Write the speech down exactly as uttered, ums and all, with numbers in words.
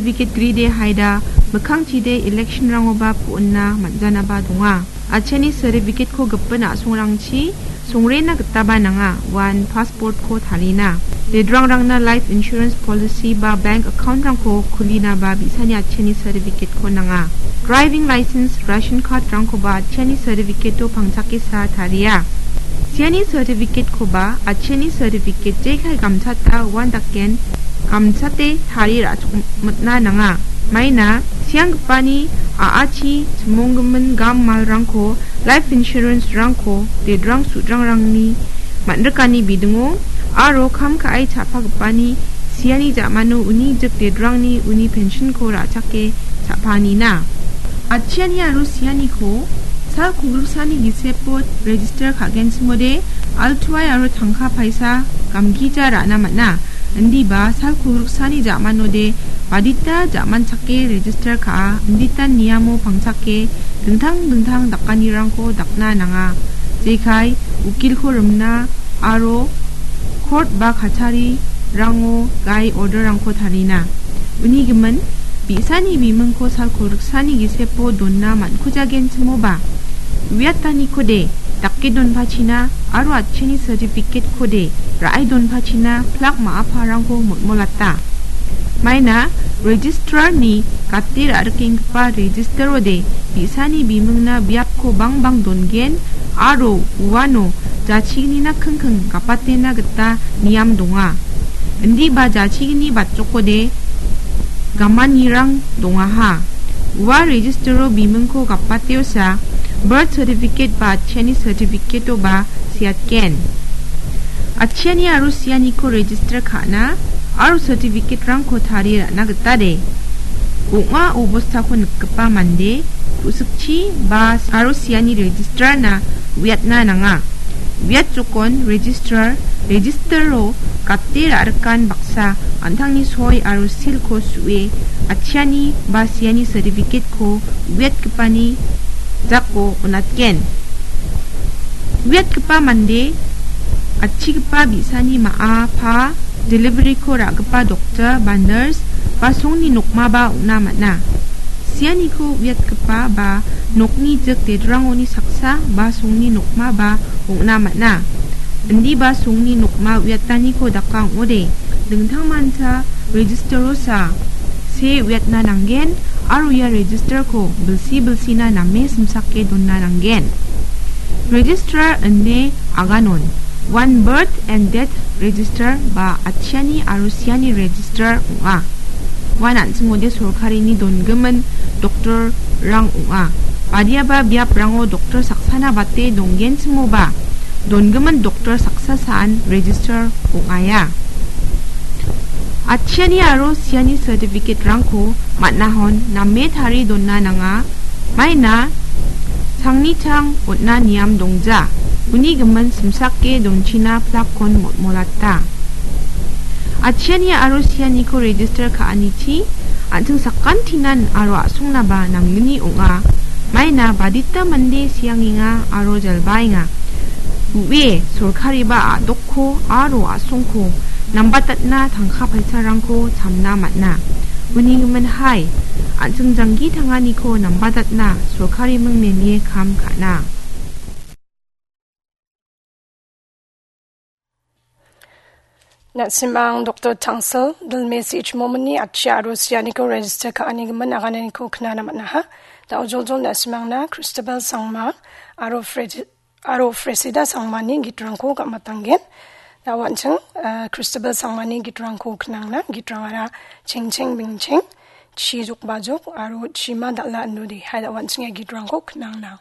Certificate gride haida mikkangchide election-rangoba pu·ona man·janaba donga. Atchiani certificate-ko gipin a·songrangchi songrena gitaba nanga, uan passport-ko tarina. Dedrangrangna life insurance policy ba bank account-rangko kulinaba bi·sani atchiani certificate-ko nanga. Driving license, ration card-rangkoba atchiani certificate-o pangchakesa taria. Siani certificate-koba atchiani certificate jekai gamchata uan daken gamchate tarie ra·chongmitna nanga. Maina sianggipani a·achi chimonggimin gam malrangko, life insurance-rangko dedrang sudrangrangni man·rikani bidingo aro kam ka·e cha·pagipani siani ja·mano uni jik dedrangni uni pension-ko ra·chake cha·panina. Atchiani aro sianiko sal kogriksani gisepo register ka·genchimode altuai aro tangka paisa gamgija ra·na man·a. Indiba sal kogriksani ja·manode badita ja·manchake register ka·a, inditan niamo pangchake dingtang dingtang dakanirangko dakna nanga. Jekai ukilko rimna aro court ba kacharirango gai order-rangko tarina. Uni gimin, bi·sani bimingko sal kogriksani gisepo donna man·kujagenchimoba, uiatanikode dake donpachina aro atchiani certificate-kode ra·e donpachina plak ma·aparangko molmolata. Maina registrar-ni gate ra·rikenggipa register-ode bi·sani bimingna biapko bangbang dongen aro uano jachignina kingking gapatena gita niam donga. Indiba jachigni batjokode gamanirang dongaha. Ua register-o bimingko gapateosa birth certificate ba atchiani certificate-oba seatgen. Atchiani aro sianiko register ka·na aro certificate-rangko tarie ra·na gita de. Ong·a obostako nikgipa mande ku·sikchi ba aro siani register-na uiatna nanga. Uiat jokon registrar, register-o gate ra·rikan baksa an·tangni soi aro silko su·e atchiani ba siani certificate-ko uiatgipani jako on·atgen. Uiatgipa mande atchigipa bi·sani ma·a pa delivery-ko ra·gipa doktor ba nurse ba songni nokmaba ong·na man·a. Sianiko uiatgipa ba nokni jik dedrangoni saksa ba songni nokmaba ong·na man·a. Indiba songni nokma uiataniko daka ong·ode, dingtangmancha register-osa see uiatna nanggen aro ia register-ko bilsi bilsina name simsake dona nanggen. Registrar ine aganon, uan birth and death register ba atchiani aro siani register ong·a. Uan an·chingode sorkarini dongimin doktorrang ong·a. Badiaba biaprango doktor saksana bate donggenchimoba, dongimin doktor saksa saan register ong·aia. Atchiani aro siani certificate-rangko man·ahon name tarie dona nanga. Maina sangni chang on·na niam dongja. Uni gimin simsake donchina plakkon molmolata. Atchiani aro sianiko register ka·anichi an·ching sakantinan aro a·songnaba nanggni ong·a. Maina badita mande siangenga aro jalbaenga. Ue, sorkariba a·dokko aro a·songko nambatatna tangka paisarangko chamna man·a. Uni gimin hai, an·ching janggi tanganiko nambatatna sorkariming nenge kam ka·na. Na·simang Doktor Tangsil, Dilme C H Momini atchi aro sianiko register ka·ani gimin agananiko knana man·aha. Da·o joljol na·simangna Christabel Sangma aro Fred-, aro Fresida Sangmani gitrangko gam·atanggen. Da·o an·ching, eh, Christabel Sangmani gitrangko knangna, gitrangara chengcheng bingcheng, chi jokbajok aro chima dal·a indode. Hai da·o an·ching ia gitrangko knangna.